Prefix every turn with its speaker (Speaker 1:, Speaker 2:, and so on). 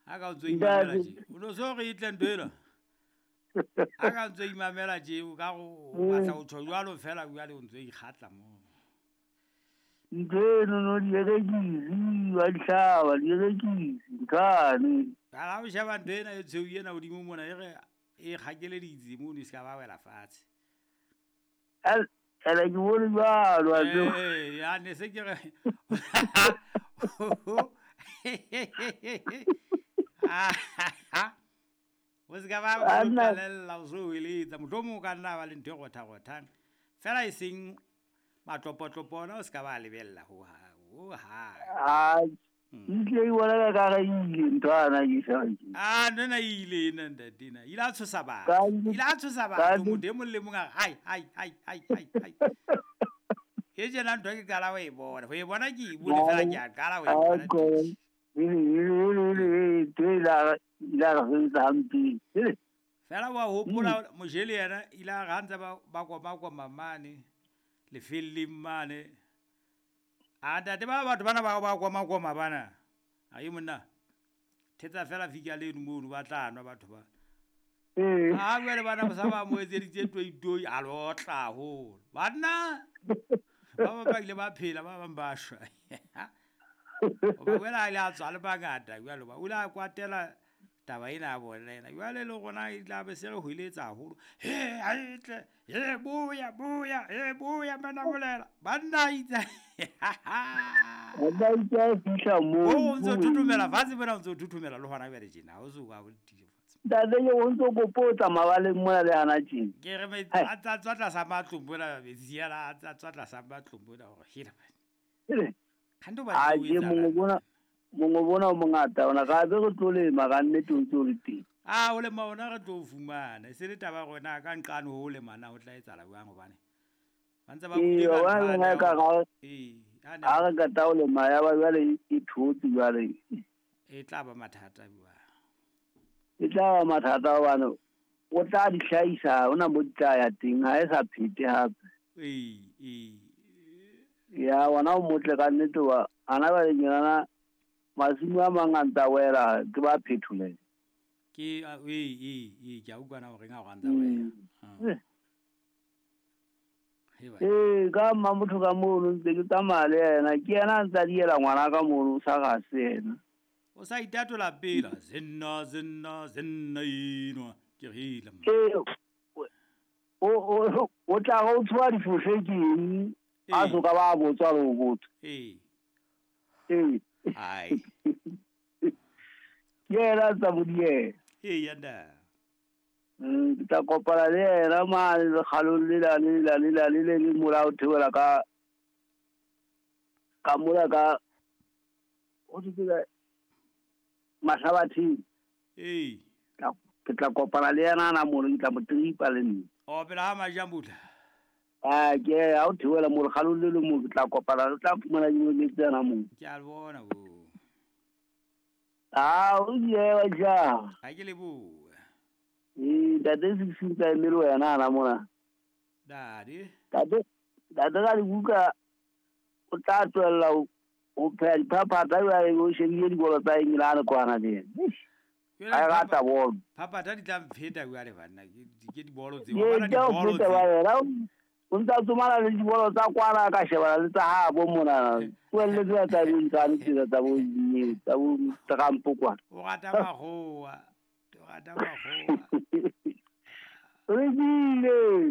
Speaker 1: Ha ka o ntso imamela tje. O no so re e tle ntho ena. Ha ka ntso imamela tje o ka go o batla ho tjho jwalo fela jwale o ntso ikgatla mo.
Speaker 2: Ntho eno no dierekisi wa di hlaba dierekisi nthwane.
Speaker 1: Ha o sheba ntho ena e tshweu ena hodimo mona e re e kgakeleditse mono e se ka ba wela fatshe.
Speaker 2: Ene ke bone jwalo wa tseba.
Speaker 1: Ee, ya ne se ke re o se ka ba o qalella o so eletsa mohlomong o ka nna ba le ntho e rotha-rothang fela e seng matlopotlopo ona o se ka ba lebella ho hang.
Speaker 2: Ehlile ke bona ka kare e ile ntho ana ke sa ke.
Speaker 1: Ah, ntho ena e ile ena ntate ena. Ile a tshosa batho. Ile a tshosa batho motho e mong le mong a re ai ai ai ai ai ai. E tjena ntho ke qala ho e bona. Ho e bona ke e bone fela ke a qala ho e bona.
Speaker 2: Ntho e ile a re sebetsa hampe.
Speaker 1: Fela wa hopola Mojele yena ile a re ha ntse ba koma-koma mane lefelleng mane. A ntate ba batho bana ba ba koma-koma bana. Ai monna. Thetsa fela fika leno mono ba tla nwa batho ba. A jwale bana ba sa ba mo etseditse toitoi a lo tla haholo. Banna ba bang ba ile ba phela ba bang ba shwa. Hoba jwale a ile a tswa le bangata jwale ba o ile a kwatela taba ena ya bona ena. Jwale le rona e tla be se re hweletsa haholo. He ha e tle, he boya boya, he boya manamolela. Banna itse.
Speaker 2: Banna itse a fihla moo.
Speaker 1: O ntso thuthumela fatshe mona o ntso thuthumela le hona jwale tjena. O so ka o tiile fatshe.
Speaker 2: Ntate ke o ntso kopo o tsamaya ba le mona le hana tjena.
Speaker 1: Ke re metsi a tsa tswa tlasa matlong mona metsi a tsa tswa tlasa matlong mona hore hela. Kgante o batla
Speaker 2: ho etsa. Mongwe bona o mongata ona ka be re tlo lema ka nnete o ntse o le teng.
Speaker 1: A o lema ona re tlo fumana. E se le taba rona ka nqane ho lema na ho tla etsahala jwang hobane ba ntse ba buile
Speaker 2: ka ntho ee ha re qeta ho lema ya ba jwale e thotse jwale.
Speaker 1: E tla ba mathata jwang.
Speaker 2: E tla ba mathata hobane o tla di hlahisa hona mo di tla ya teng ha e sa phete hape.
Speaker 1: Ee ee.
Speaker 2: Ya wona o motle ka nnete wa ana ba le masimo a mang a ntsa wela ke ba phetholele.
Speaker 1: Ke ee ke a utlwana hore nga hore a ntsa wela.
Speaker 2: Ee ka mma motho ka mono ntse ke tsamaya le yena ke yena a ntsa diela ngwana ka mono o sa ga se yena.
Speaker 1: O sa itatola pela zenna zenna zenna enwa ke re hela.
Speaker 2: Ee o tla go tswa difohle ke eng a so ka ba botswa le go botswa.
Speaker 1: Ee.
Speaker 2: Ee.
Speaker 1: Ai.
Speaker 2: Ke yena tsa bodiela.
Speaker 1: Ee yanda.
Speaker 2: Ke tla kopana le yena mane lekgalong lela le la le la le le le mola o theohela ka ka mola ka ho thwe Mahlabatheng.
Speaker 1: Ee.
Speaker 2: Ke tla kopana le yena ana mono ke tla mo tripa le nna.
Speaker 1: O pela ha Majambula.
Speaker 2: Ah ke ha o theohela mo lekgalong le le mo ke tla kopana le tla fumana dilo tse ana mo.
Speaker 1: Ke a bona bo.
Speaker 2: Ah o ye wa ja.
Speaker 1: Ha ke lebohe.
Speaker 2: Ee ntate se se tsa emele wena ana mona.
Speaker 1: Dadi.
Speaker 2: Ntate ntate ka dibuka o tla tswella o pheha diphaphatha jwale o shebile dibolo tsa England kwana le yena. A rata bolo.
Speaker 1: Phaphatha di tla mpheta jwale banna ke dibolo tseo. Bana dibolo
Speaker 2: tseo. O ntsa tsomana le dibolo tsa kwana ka shebana le tsa habo mona. Tlohelle tsena tsa dintsane tsena tsa bo tsa bo Trump kwana.
Speaker 1: O rata makgowa. O rata makgowa.
Speaker 2: Re bile.